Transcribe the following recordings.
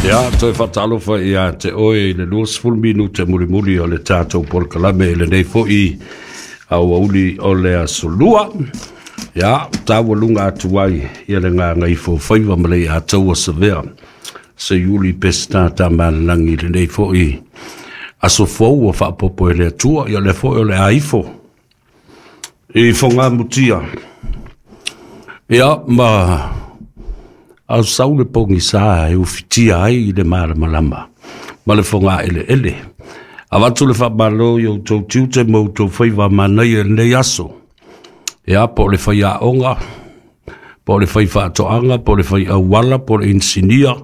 Ia, toe faatalofa ia te oe i le 20 minute mulimuli o le tatou polokalame i lenei foi aoauli o le aso Lua. Ia, taualuga atu ai ia le gagaifo faiva ma le Ataua Savea. Seiuli Peseta Tamalelagi i lenei foi aso fou ua faapopo e le Atua, ia o lea foi o le a ifo i fogamutia. Ia, ma au sau le pogisa e ufitia ai i le malamalama ma le fogaeleele. Avatu le faamalo i outou tiute ma outou faiva manaia i lenei aso. Ia, po o le faiaoga, po o le faifaatoaga, po o le faiauala, po o le inisinia,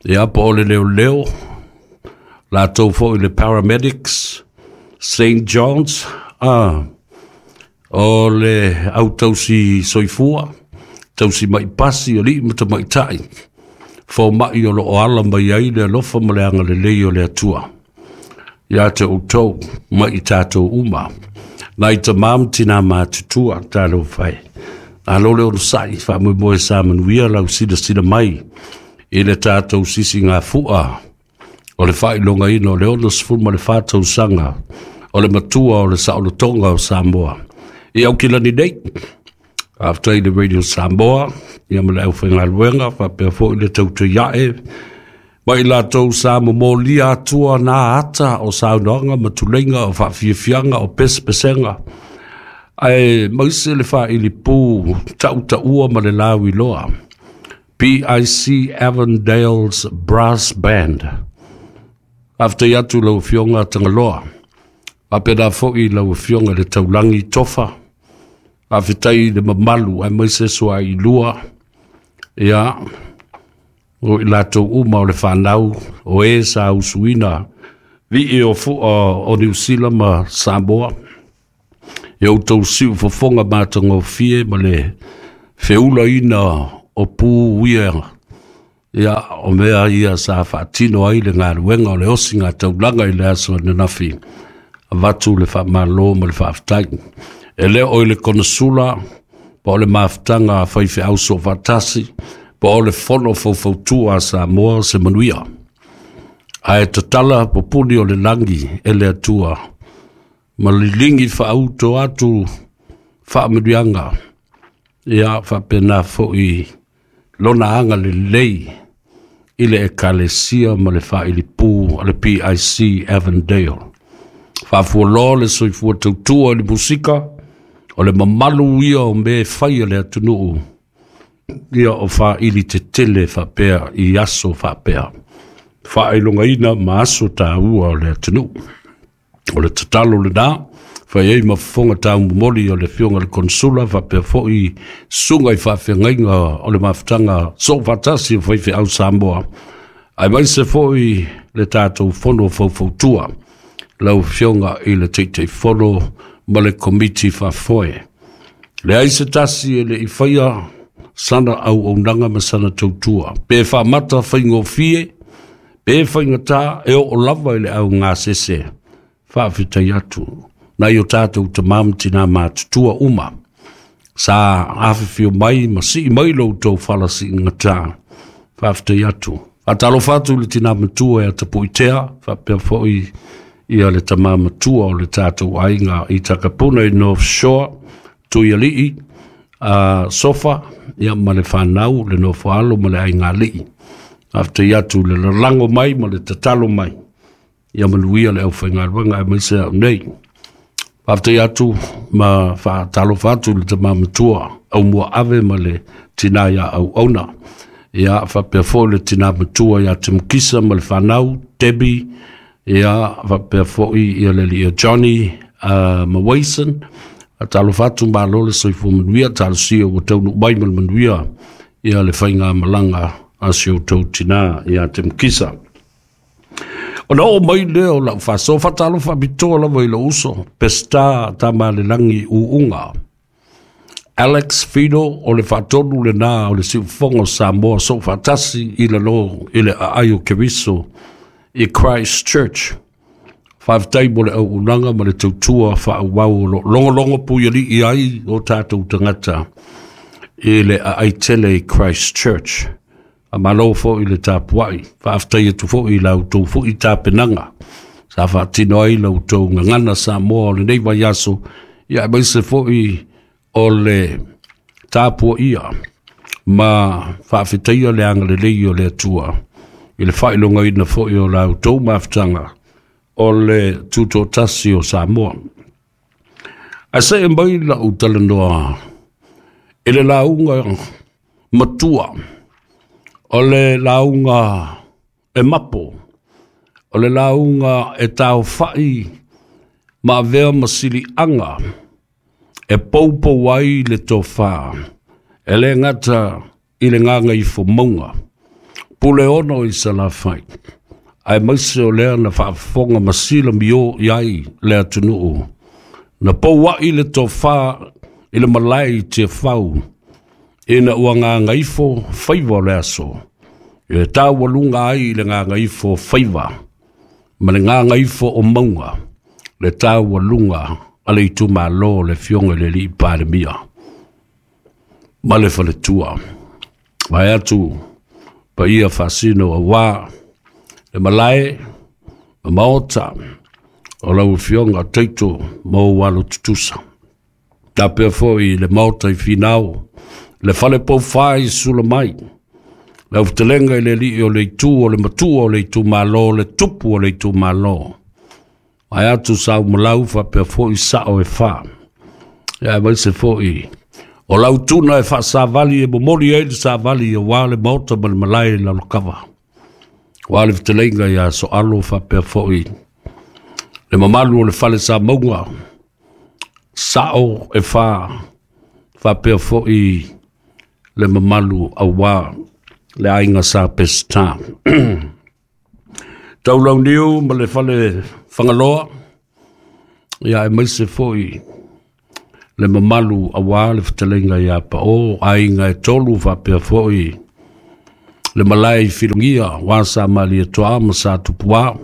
ia, po o le leoleo, latou foi le paramedics, St. John's, o le au tausi soifua, tausi mai pasi, alii ma tamaitai, fomai o lo o ala mai ai le alofa ma le agalelei o le Atua ia te outou ma i tatou uma. Nai tamā ma tinā matutua, talofa e. Malo le onosai, faamoemoe sa manuia lau silasila mai i le tatou sisigafua o le faailogaina o le 64 tausaga o le matua o le saolotoga o Samoa i Aukilani nei. Faafetai i le Radio Samoa ia ma le aufaigaluega, faapea foi le tautuiae ma i latou sa momolia atua na ata o saunoaga ma tuleiga o faafiafiaga o pesepesega, ae maise le faailipu tautaua ma le lauiloa PIC Avondale's Brass Band. Faafetai atu lau Afioga Tagaloa, faapena foi lau Afioga i le Taulagi Tofa. Faafetai i le mamalu aemaise suailua, ia, o i latou uma o le fanau o e sa usuina vii o fua o Niu Sila ma Samoa, e outou siufofoga matagofie ma le feulaina o pu ia, ia, o mea ia sa faatino ai le galuega o le osiga taulaga i le aso ananafi. Avatu le faamalo ma le faafetai. E le o i le konesula, po o le mafutaga a faifeau soofaatasi, po o le fono faufautua a Samoa se manuia. Ae tatala pupuni o le lagi e le Atua, ma liligi faauto atu faamanuiaga, ia faapena foi lona agalelei i le Ekalesia ma le faailipu a le PIC Avondale. Faafualoa le soifua tautua i le musika, o le mamalu ia o mea e fai a le atunuu, ia o faaili tetele faapea i aso faapea, faailogaina ma aso taua o le atunuu. O le tatalo lena, fai ai ma fofoga taumomoli o le Afioga i le Konsula, faapea foi susuga i faafeagaiga o le mafutaga soofaatasi o faifeau Samoa, aemaise foi le tatou fono faufautua, lau Afioga i le Taitaifono ma le Komiti Faafoe. Leai se tasi e le i faia sana auaunaga ma sana tautua, pe faamata faigofie, pe faigata, e oo lava i le augasese. Faafetai atu nai o tatou tamā ma tinā matutua uma sa afifio mai ma sii mai lo outou fala siigatā. Faafetai atu. Faatalofa atu i le tinā matua ia Tapuitea, faapea foi ia le tamā matua o le tatou aiga i Takapuna i North Shore, Tuialii, Sofa, ia ma le fanau, le nofoalo ma le aigalii. Faafetai atu i le lalago mai ma le tatalo mai, ia manuia le aufaigaluega aemaise au nei. Faafetai atu ma faatalofa atu i le tamā matua Aumuaave ma le tinā ia Auauna. Ia, faapea foi le tinā matua ia Timukisa ma le fanau, Debbie, ia, faapea foi ia le alii Johnny ma Wason. Faatalofa atu, malo le soifua manuia, talosia ua taunuu mai ma le manuia ia le faigamalaga a si outou tinā ia Timukisa. Ona oo mai lea o lau faasoa, faatalofa faapitoa lava i lou uso, Peseta Tamalelagi Uuga. Alex Fido o le faatonu lena o le siufofoga o Samoa soofaatasi i lalo i le aai o Keriso i Christchurch. Faafetai mo le auaunaga ma le tautua faaauau o lo o logologo puialii ai o tatou tagata i le aai tele i Christchurch. Faamalo foi i le tapuai, faafetai atu foi i la outou foi tapenaga sa faatino ai la outou gagana Samoa o lenei vaiaso, ia aemaise foi o le tapuaia ma faafetaia le agalelei o le Atua i le faailogaina foi o la outou mafutaga o le tutoatasi o Samoa. Ae see mai lau talanoa i le lauga matua, o le lauga e mapo, o le lauga e taofai ma avea ma siliaga e poupou ai le tofa, e le gata i le gagaifomauga, Puleono i Salafai, aemaise o lea na faafofoga ma silamio i ai le atunuu, na pouai le tofa i le malae i Tiafau, ina ua gagaifo faiva o le aso, e taualuga ai le gagaifo faiva ma le gagaifo o mauga, le taualuga a le itumalo o le Afioga i le Alii Palemia ma le faletua. Vae atu paia faasino aua le malae ma maota o lau Afioga Taito ma ou alo tutusa. Tapea foi le maota i Finao, le fale poufa i Sulamai, lau fetelega i le alii o le itu o le matua o le itumalo, le tupu o le itumalo. Vae atu sa umalau faapea foi sao e fa. Ia aemaise foi o lau tuna e faasavali e momoli ai le savali aua le maota ma le malae i Lalokava. Aua le fetelega ia Soalo faapea foi le mamalu o le fale Samauga, sao e fa faapea foi le mamalu aua le aiga sa Peseta. Taulauniu ma le fale Fagaloa, ia aemaise foi le mamalu aua le fetalaiga ia Pao, aiga e tolu faapea foi le malae i Filogia, aua sa Malietoa ma sa Tupua.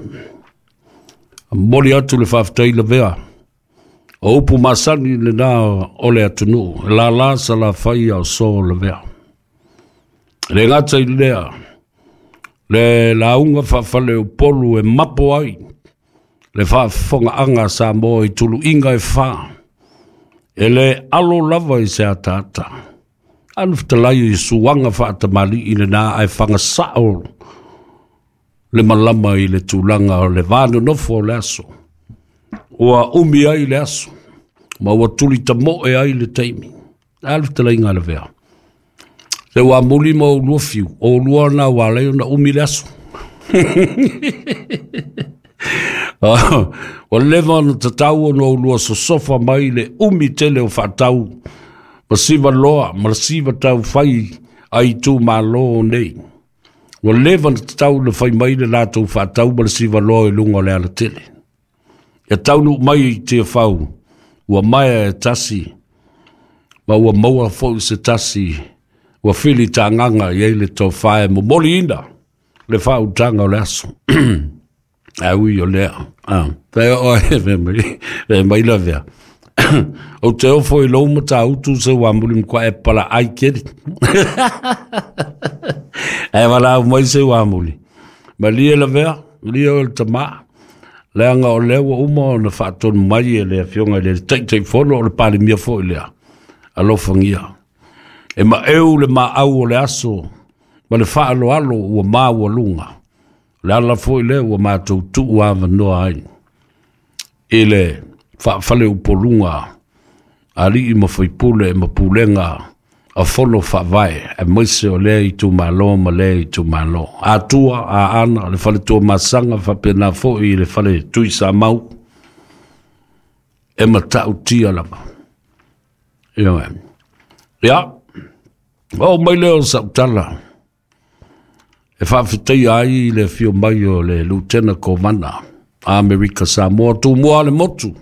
Momoli atu le faafetai lavea, o upu masani lena o le atunuu, e lala Salafai a o so lavea. E le gata i lea, le lauga faafaleupolu e mapo ai le faafofogaaga a Samoa i tuluiga e fa, e le alo lava i se ataata. Alu fetalai i suaga faatamalii lena ae fagasao le malama i le tulaga o le va nonofo o le aso. Ua umi ai le aso, ma ua tuli tamoe ai le taimi. Alu fetalaiga a lavea. Se ua muli ma ou lua fiu, o lua na ua alai ona umi le aso. Ua leva ona tatau ona ou lua sosofa mai le umi tele o faatau ma siva loa ma le siva tau fai a itumalo nei. Ua leva ona tatau ona fai mai le latou faatau ma le siva loa i luga o le alatele. Ia taunuu mai i Tiafau, ua maea e tasi, ma ua maua foi se tasi, ua fili tagaga i ai le tofa e momoliina le faautaga o le aso. Ae ui o lea, fai oe, fai mai lavea. Ou te ofo i lou matautu se ua muli matua e pala ai keri. Ae valaau mai se ua muli. Malie lavea, malie oe le tama. Leaga o lea ua uma ona faatonu mai e le Afioga i le Taitaifono o le Palemia foi lea. Alofagia. E maeu le maau o le aso ma le faaaloalo ua maualuga. O le ala foi lea ua matou tuu avanoa ai i le faafaleupoluga alii ma faipule ma pulega a fono faavae, aemaise o lea itumalo ma lea itumalo. Atua, Aana, le fale Tuamasaga, faapena foi i le fale Tuisamau, e matautia lava. Ioe. Ia, oo mai lea o sau tala, e faafetaia ai le afio mai o le Lutena Kovana Amerika Samoa, Tumua le motu.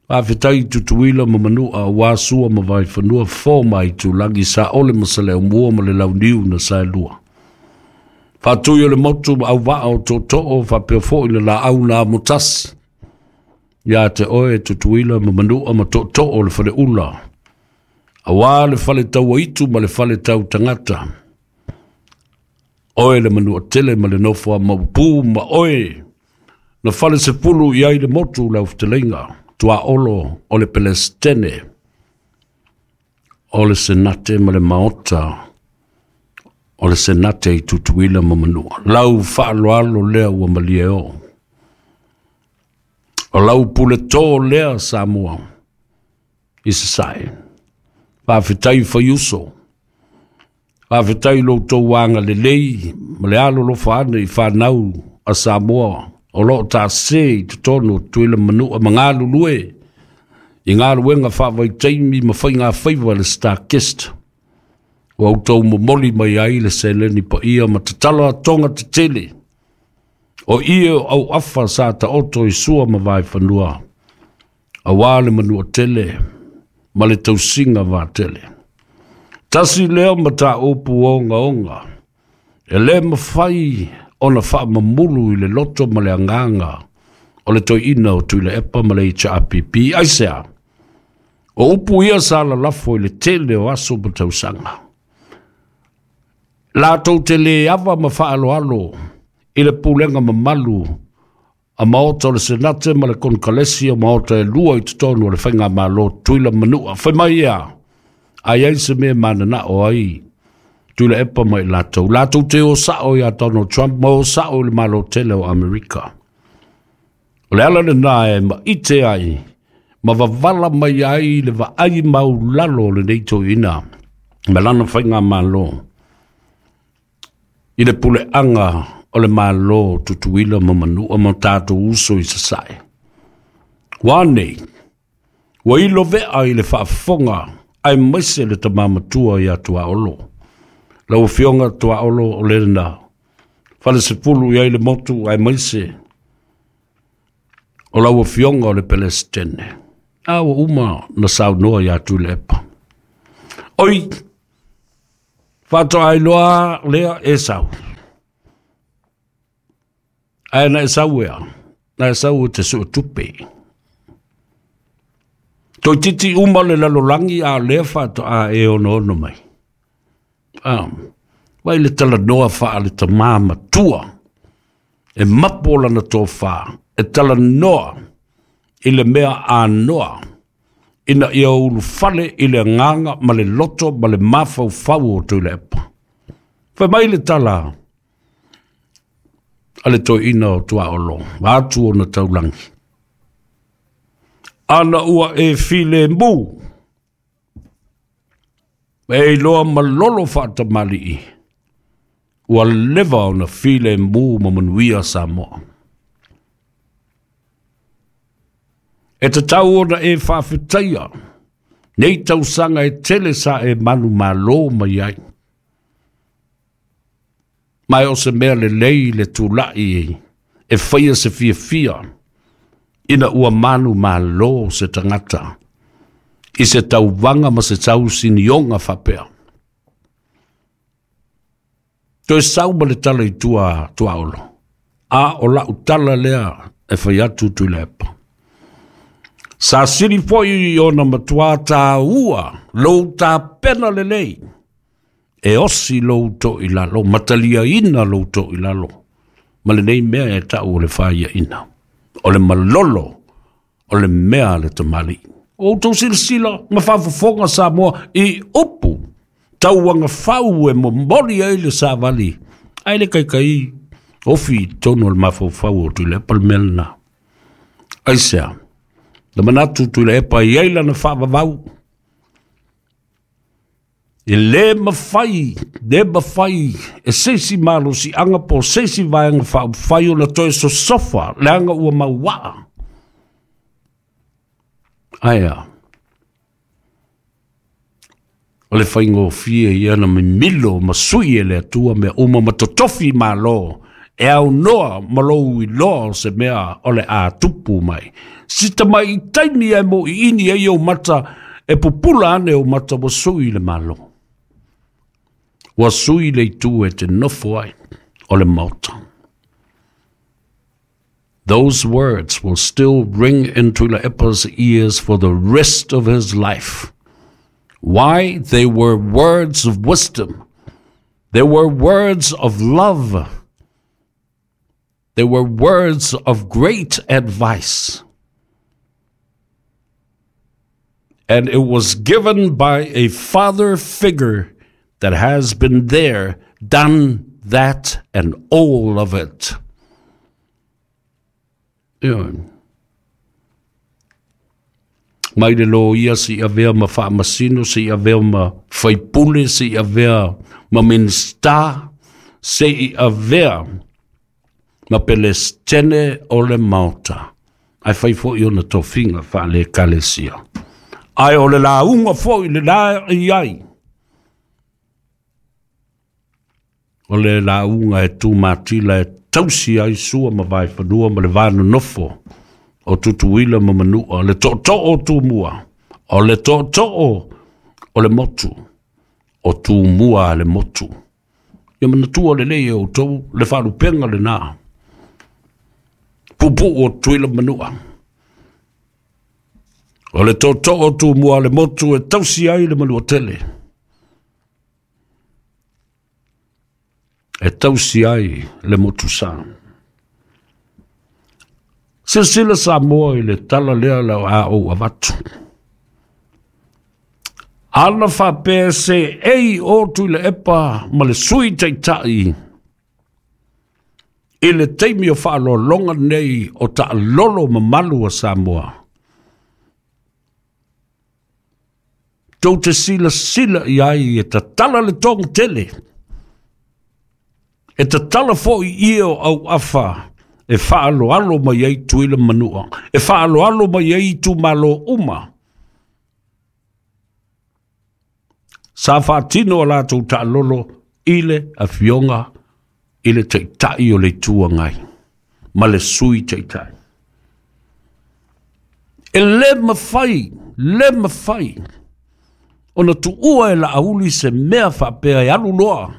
Faafetai i Tutuila ma Manua, aua Sua ma Vaifanua, Fofo ma Aitulagi, Saole ma Saleaaumua ma le Launiu na Saelua. Faatui o le motu ma auvaa o tootoo, faapea foi le laau na amotasi. Ia te oe Tutuila ma Manua ma tootoo o le faleula, aua le fale tauaitu ma le fale tau tagata. Oe le Manuatele ma le nofo a Maupū ma oe na fale sepulu i ai le motu lau fetalaiga Tuaolo o le Pelestene o le Senate ma le Maota o le Senate i Tutuila ma Manua. Lau faaaloalo lea ua malie o. O lau puletō lea Samoa i Sasae. Faafetai faiuso. Faafetai lo outou agalelei ma le alolofa ane i fanau a Samoa o lo o taase i totonu o Tutuila ma Manua ma galulue i galuega faavaitaimi ma faiga faiva le StarKist. Ua outou momoli mai ai le seleni paia ma tatala atoga tetele o ie o auafa sa taoto i sua ma vaefanua, auā le Manuatele ma le tausiga vatele. Tasi lea mataupu ogaoga e lē mafai ona faamamulu i le loto ma le agaga o le toeaina o Tuilaepa ma le HRPP. Aisea? O upu ia sa lalafo i le tele o aso ma tausaga. Latou te lē ava ma faaaloalo i le pulega mamalu a Maota o le Senate ma le Konekaresi o Maota e lua i totonu o le Faigamalo Tutuila ma Manua. Fai mai ia, a i ai se mea mananao ai Tuilaepa ma i latou. Latou te o sao ia Donald Trump ma o sao i le Malo tele o Amerika. O le ala lena e maite ai ma wavala mai ai le vaai maulalo o lenei toeaina ma lana faigamalo i le puleaga o le Malo Tutuila ma Manua ma tatou uso i Sasae. Ua nei, ua ilo vea i le faafofoga aemaise le tama matua ia Tuaolo. Lau Afioga Tuaolo o lena fale sepulu i ai le motu aemaise o lau Afioga o le Pelestene. A ua uma na saunoa ia Tuilaepa. Oi, faatoa iloa lea e sau. Ae na e sau ea, na e sau e te sue tupe. Toeitiiti uma le lalolagi a lea faatoa e onoono mai. Ah, vai le talanoa faa le tamā matua e mapo lana tofa e talanoa i le mea anoa ina ia ulufale i le agaga ma le loto ma le mafaufau o Tuilaepa. Fai mai le tala a le toeaina o Tuaolo, atu ona taulagi. Ana ua e filemu, e iloa malolo faatamalii, ua leva ona filemu ma manuia Samoa. E tatau ona e faafetaia nei tausaga e tele sa e manumalo mai ai. Ma e o se mea lelei le tulai e faia se fiafia ina ua manumalo se tagata i se tauvaga ma se tausinioga faapea. Toe sau ma le tala i tua Tuaolo. A o lau tala lea e fai atu Tuilaepa. Sa sili foi ona matuā tāua lou tapena lelei e osi lou toilalo, mataliaina lou toilalo, ma lenei mea e tau o le faiaina. O le malolo o le mea a le tamalii. O outou silasila ma faafofoga Samoa i upu tauagafau e momoli ai le savali, ae le kaikai ofi i totonu o le mafaufau o Tuilaepa le mea lena. Aisea? Na manatu Tuilaepa e i ai lana faavavau. E lē mafai, lē mafai e se isi malosiaga po o se isi vaega faaupufai ona toe sosofa leaga ua mauaa. Ae a? O le faigofie ia na mimilo ma sui e le Atua mea uma ma totofi malo e aunoa ma lou iloa o se mea o le a tupu mai. Sita mai i taimi e mo i ini ai ou mata e pupula ane ou mata ua sui le malo. Ua sui le itu e te nofo ai o le Maota. Those words will still ring in Tuilaepa's ears for the rest of his life. Why? They were words of wisdom. There were words of love. There were words of great advice. And it was given by a father figure that has been there, done that, and all of it. Ioe. Mai le loia seia avea ma faamasino, seia avea ma faipule, seia avea ma Minisita, seia avea ma Pelestene o le Maota. Ae fai foi ona tofiga faale-Ekalesia. Ae o le lauga foi le la i ai, o le lauga e tumatila e tausi ai Sua ma Vaefanua ma le va nonofo o Tutuila ma Manua, le tootoo o Tumua, o le tootoo o le motu, o Tumua a le motu. Ia manatua lelei e outou le faalupega lena, puupuu o Tutuila ma Manua. O le tootoo o Tumua a le motu e tausi ai le Manuatele, e tausi ai le motusa. Silasila Samoa i le tala lea la a ou avatu. Ana faapea se ei o Tuilaepa ma le Sui Taitai i le taimi o faaaloaloga nei o taalolo mamalu a Samoa, tou te silasila i ai e tatala le toga tele, e tatala foi ie o auafa e faaaloalo mai ai Tutuila ma Manua, e faaaloalo mai ai itumalo uma. Sa faatino a latou taalolo i le afioga i le Taitai o le Itu Agai ma le Sui Taitai. E le mafai, le mafai ona tuua e Laauli se mea faapea e alu loa,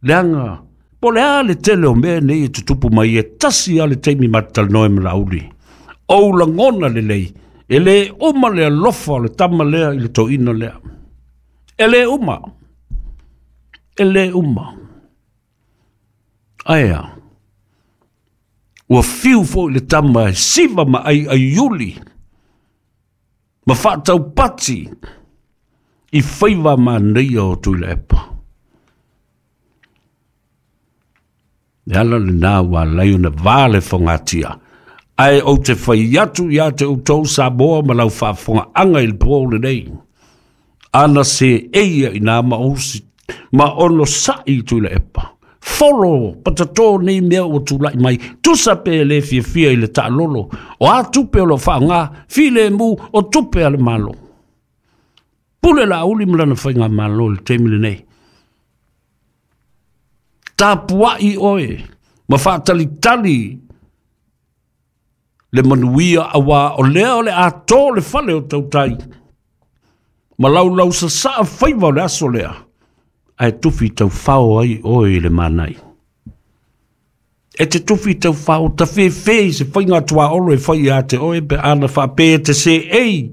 leaga po o le a le tele o mea nei e tutupu mai, e tasi lava le taimi ma te talanoa ai ma Laauli. Ou lagona lelei, e le uma le alofa o le tama lea i le toeaina lea. E le uma, e le uma. Ae a? Ua fiu foi le tama e siva ma aiaiuli ma faataupati i faiva manaia o Tuilaepa. Le ala lena ua alai ona va le fogatia. Ae ou te fai atu ia te outou Samoa ma lau faafofogaaga i le po lenei. Ana se eia ina ma osi, ma ono sa'i i Tuilaepa. Folo patatō nei mea ua tulai mai, tusa pe le fiafia i le taalolo, o a tupe o lo faaaoga, filemu o tupe a le Malo. Pule Laauli ma lana faigamalo i le taimi lenei. Tapuai oe ma faatalitali le manuia aua o lea o le a tō le fale o tautai ma laulau sasaa faiva o le aso lea, ae tufi taufao ai oe i le manai. E te tufi taufao, tafefe i se faiga tuaolo e fai ia te oe pe ana faapea e te seei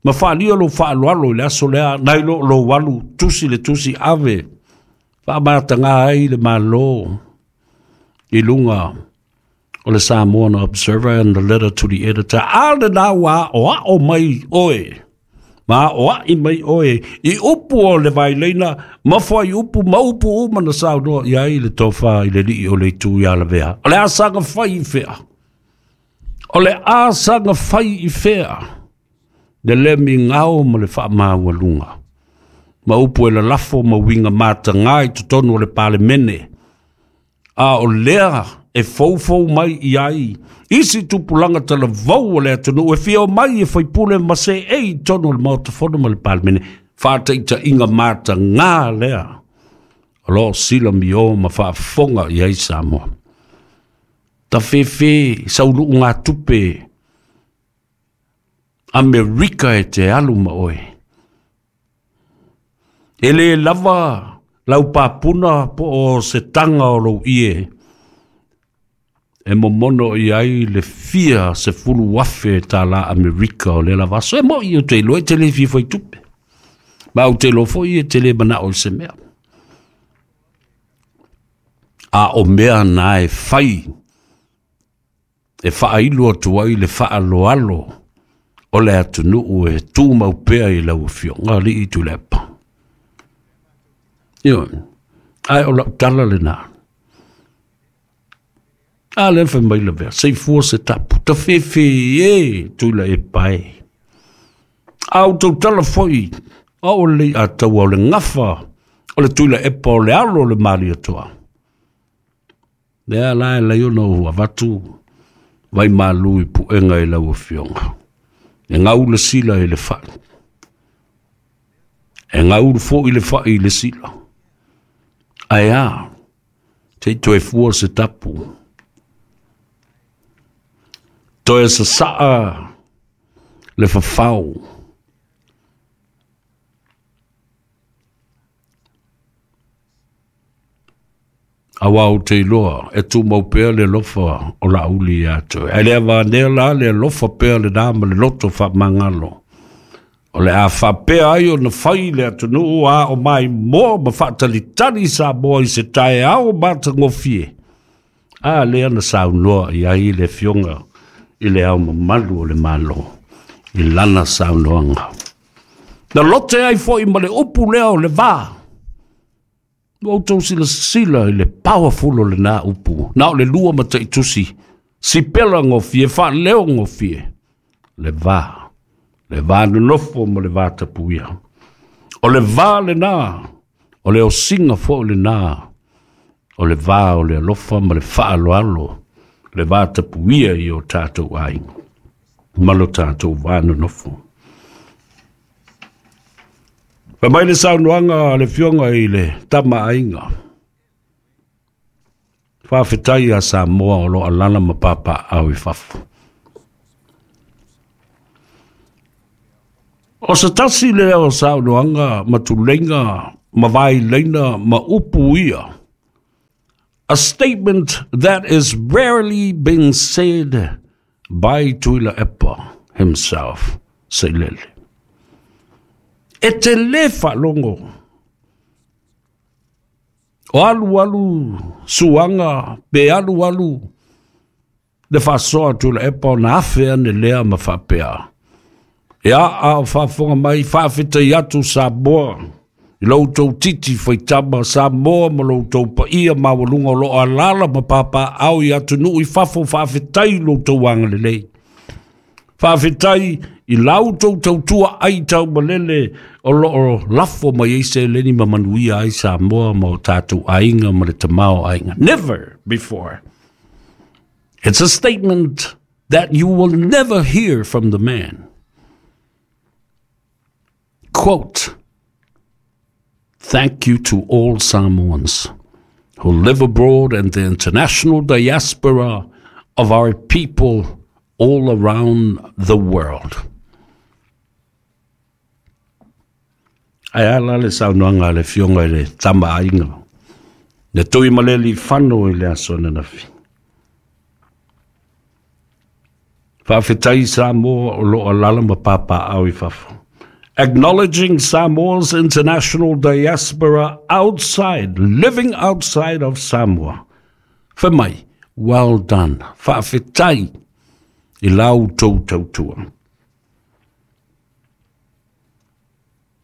ma faalia lou faaaloalo i le aso lea, nai lo lou alu tusi le tusi ave faamataga ai le Malo i luga o le Samoan Observer and the letter to the editor. A lena ua aoao mai oe, ma aoai mai oe i upu o le vaileina, ma fuaiupu ma upu uma na saunoa i ai le tofa i le alii o le itu ia Lavea. O le a saga fai i fea? O le a saga fai i fea? Le le migao ma le faamaualuga. Ma upu e lalafo ma uiga mataga i totonu o le Palemene. A o lea e foufou mai i ai isi tupulaga talavou o le atunuu e fia omai e faipule ma seei i totonu o le Maota Fono ma le Palemene. Faataitaiga mataga lea o lo o silamio ma faafofoga i ai Samoa. Tafefe sauluugatupe Amerika e te alu ma oe. E le lava lau papuna po o se taga o lou ie e momono i ai le fia 10,000 tālā Amerika o lea lava aso. E moi ou te iloa e te le fia fai tupe. Ma ou te iloa foi e te le manao i se mea. A o mea na e fai e faailo atu ai le faaaloalo o le atunuu e tumau pea i lau Afioga alii Tuilaepa. Ioe, ae o lau tala lena. A lea fai mai Lavea, seifua se tapu, tafefe e Tuilaepa e. A ou tautala foi, a o lelei ataua o le gafa o le Tuilaepa o le alo o le Malietoa. Lea la e lai ona ou avatu vai malu i puega i lau Afioga. E gau le sila i le fai. E gau foi le fai i le sila. Ae a, se i toe fua se tapu. Toe sasaa le fafao. Aua ou te iloa e tumau pea le alofa o Laauli ia te oe. Ae le avanea la le alofa pea lena ma le loto faamagalo. O le a faapea ai ona fai le atunuu a o maimoa ma faatalitali Samoa i se taeao matagofie. A lea na saunoa i ai le Afioga i le Ao Mamalu o le Malo i lana saunoaga. Na lote ai foi ma le upu lea o le va. Ua outou silasila i le powerful o lena upu. Na o le lua mataitusi, sipela gofie, faaleo gofie. Le va, le va nonofo ma le va tapuia. O le va lena, o le osiga foi lena, o le va o le alofa ma le faaaloalo, le va tapuia i o tatou aiga ma lo tatou va nonofo. Fai mai le saunoaga a le Afioga i le Tama Aiga. Faafetai ia Samoa o lo alala ma papaau i fafo. O se tasi lea o saunoaga ma tuleiga ma vaileina ma upu ia. A statement that is rarely been said by Tuilaepa himself, Sailele. E te le faalogo. O alu alu suaga pe alu alu le faasoa a Tuilaepa ona afe ane lea ma faapea. E a o faafofoga mai, faafetai atu Samoa i lo outou titi faitama Samoa ma lo outou paia maualuga o lo o alaala ma papaau i atunuu i fafo, faafetai i lo outou agalelei. Faafetai i la outou tautua ai taumalele o lo o lafo mai ai seleni ma manuia ai Samoa ma o tatou aiga ma le tamaoaiga. Never before. It's a statement that you will never hear from the man. Quote, thank you to all Samoans who live abroad and the international diaspora of our people all around the world. Ae a la le saunoaga a le Afioga i le Tama Aiga, le Tuimalealiifano i le aso ananafi. Faafetai Samoa o lo o alaala ma papaau i fafo. Acknowledging Samoa's international diaspora outside, living outside of Samoa. Fai mai, well done, faafetai i la outou tautua.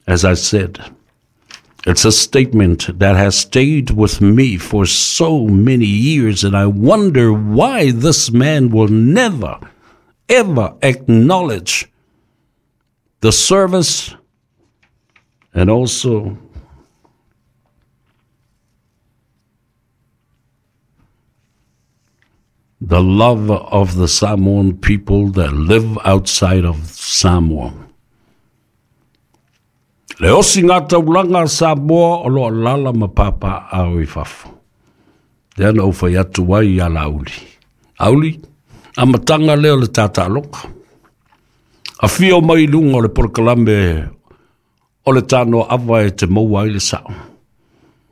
As I said, it's a statement that has stayed with me for so many years, and I wonder why this man will never, ever acknowledge the service and also the love of the Samoan people that live outside of Samoa. Le osi ngā taulanga a Samoa o lo alaala ma papaau i fafo. Lea na ou fai atu ai ia Laauli. Auli, amataga lea o le tātāloka. Afio mai i luga o le polokalame o le tanoa ava e te maua ai le sao.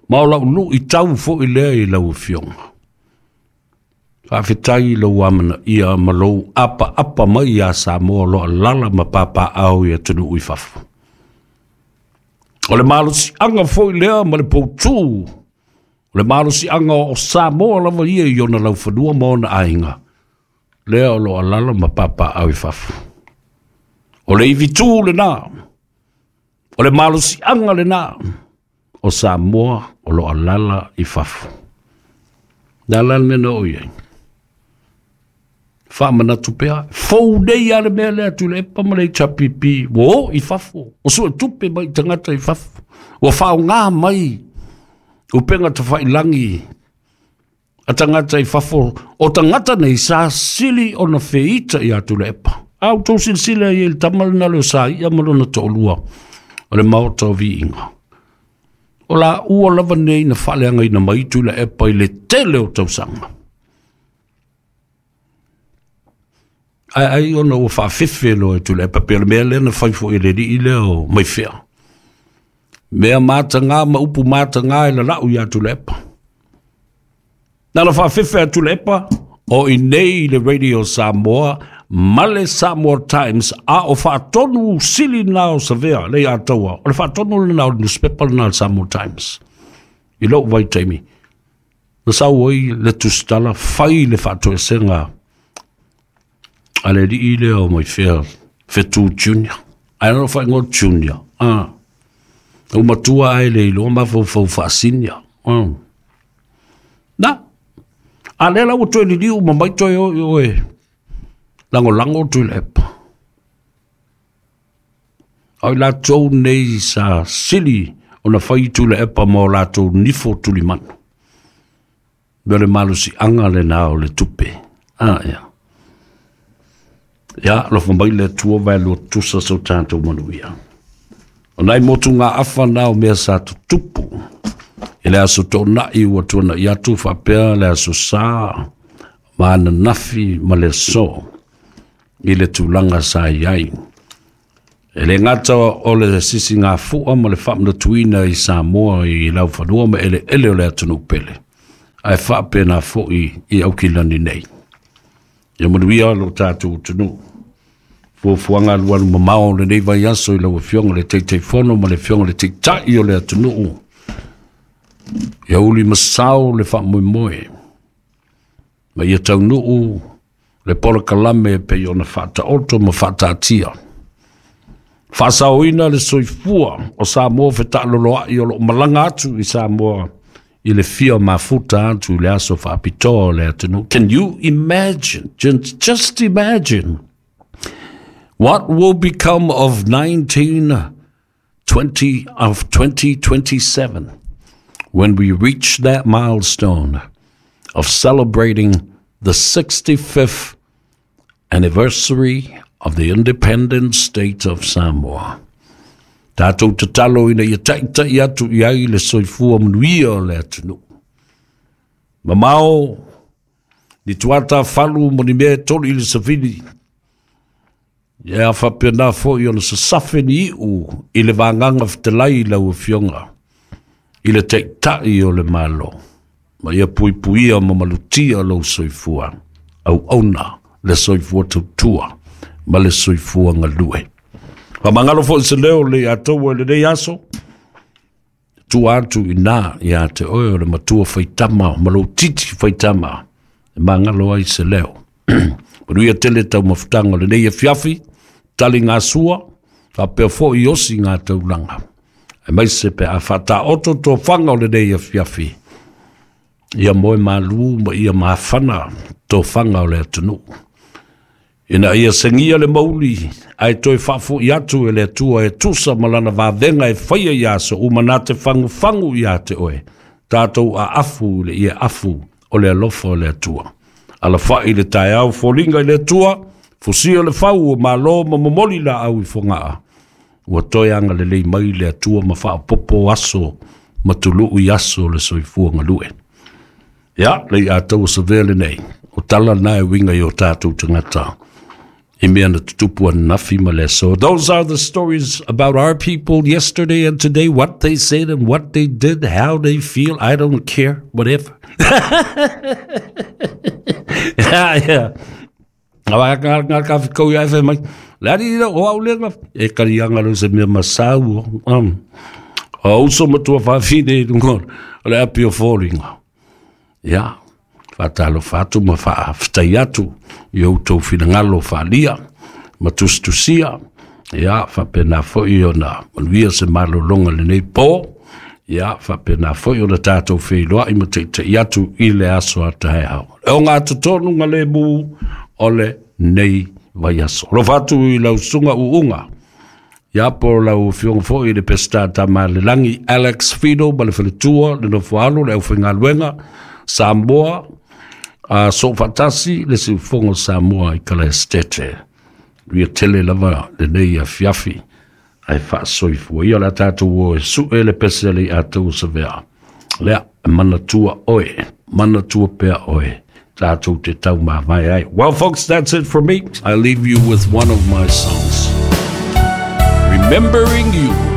Ma o lau luitau foi lea i lau Afioga. Faafetai i lou amanaia ma lou apaapa mai ia Samoa o lo o alaala ma papaau i atunuu i fafo. O le malosiaga foi lea ma le poutū O le malosiaga o Samoa lava ia i ona laufanua ma ona aiga, lea o lo o alaala ma papaaao i fafo. O le ivitu lena, o le malosiaga lena o Samoa o lo o alaala i fafo. O le a la le mea na oo i ai? Faamanatu pea, fou nei lava le mea lea Tuilaepa ma le HRPP, ua o i fafo, ua suetupe mai i tagata i fafo, ua faaaoga mai upega tafailagi a tagata i fafo. O tagata nei sa sili ona feita ia Tuilaepa. A outou silasila i ai i le tama lena leo sa ia ma lona toalua o le Maota o Viiga. O laua lava nei na faaleagaina mai Tuilaepa i le tele o tausaga. Ae ai ona ua faafefe loa e Tuilaepa, pei o le mea lea na fai foi e le alii lea o Maifea. Mea mataga ma upu mataga e lalau ia Tuilaepa. Na na faafefe a Tuilaepa o i nei i le Radio Samoa ma le Samoa Times, a o faatonu sili na o Savea le Ataua. O le faatonu lena o le newspaper lena o le Samoa Times. I lou vaitaimi, na sau ai le tusitala fai le faatoesega a le alii lea o Maifea, Fetu Junior. Ae na faaigoa Junior. Ah. Ua matua ae le iloa mafaufau faasinia. Na, a lea la ua toe liliu ma mai toe o i oe lagolago Tuilaepa. O i latou nei sa sili ona fai Tuilaepa ma o latou nifo tulimanu. Me o le malosiaga lena o le tupe. Ah, ia. Ia, alofa mai le Atua vae lua tusa so tatou manuia. O nai motu ngā afa na o mea sa tutupu. I le aso toonai ua tuanai atu faapea le aso Sa ma ananafi ma le aso i le tulaga sa i ai. E le gata o le sisigafua ma le faamanatuina i Samoa i laufanua ma eleele o le atunuu pele, ae faapena foi i Aukilani nei. Ia manuia lo tatou atunuu. Fuafuaga alualu mamao o lenei vaiaso i lau Afioga i le Taitaifono ma le Afioga i le Taitai o le atunuu. Ia uli ma sao le faamoemoe, ma ia taunuu le polokalame e pei ona faataoto ma faataatia. Faasaoina le soifua o Samoa fetaaloloai o loo malaga atu i Samoa i le fia mafuta atu i le aso faapitoa o le atunuu. Can you imagine, just imagine, what will become of 1920 of 2027 when we reach that milestone of celebrating the 65th anniversary of the independent state of Samoa? Tātou tatalo ina ia taʻitaʻi atu i ai le soifua manuia o le atunuu. Mamao ni tuata falu mo ni mea e tolu i le savili. Ia faapena foi ona sasafe ni iu i le vagaga fetalai i lau Afioga i le Taitai o le Malo. Ma ia puipuia ma malutia lou soifua, auauna le soifua tautua ma le soifua galue. Faamagalo foi se leo le ia outou i lenei aso, tua atu i na ia te oe o le matua faitama ma lou titi faitama e magalo ai se leo. Manuia tele taumafataga o lenei afiafi, tali ngā sua, faapea foi osi ngā taulaga. Aemaise pe a faataoto tofaga o lenei afiafi, ia moe malu ma ia mafana tofaga o le atunuu. Ina ia segia le mauli, ae toe faafoi atu e le Atua e tusa ma lana vavega e faia i aso uma na te fagufagu ia te oe. Tātou aafu i le ia afu o le alofa o le Atua. Alafai le taeao foliga i le Atua, fusia le fau o malo ma momoli laau i Fogaa. Ua toe agalelei mai le Atua ma faaopoopo aso ma tuluu i aso o le soifua galue. Ia, le ia taua savea lenei, o tala na e uiga i o tātou tagata i mea na tutupu ananafi ma le aso. Those are the stories about our people yesterday and today, what they said and what they did, how they feel, I don't care, whatever. Yeah. Awa ka ka ka kau ia e mai. Le ari o au le e kari anga lo se mea masau. O uso matua whawhine i runga. O le api o foliga. Ia, faatalofa atu ma faafetai atu i outou finagalo faaalia ma tusitusia. Ia, faapena foi ona manuia se malologa i lenei po. Ia, faapena foi ona tatou feiloai ma teitei atu i le aso a taeao. E ogatotonu ga lemu o lenei vaiaso. Alofa atu i lau susuga Uuga. Ia, po o lau afioga foi i le Peseta Tamalelagi Alex Fido ma le faletua, le nofoalo, le aufaigaluega Samoa, a soofaatasi le siufofoga o Samoa i Kalaesetete. Ia tele lava lenei afiafi ae faasoifua ia o le a tatou o e sue le pese a le iatau o Savea. Lea, e manatua oe, manatua pea oe, tatou te taumavae ai. Well, folks, that's it for me. I leave you with one of my songs. Remembering You.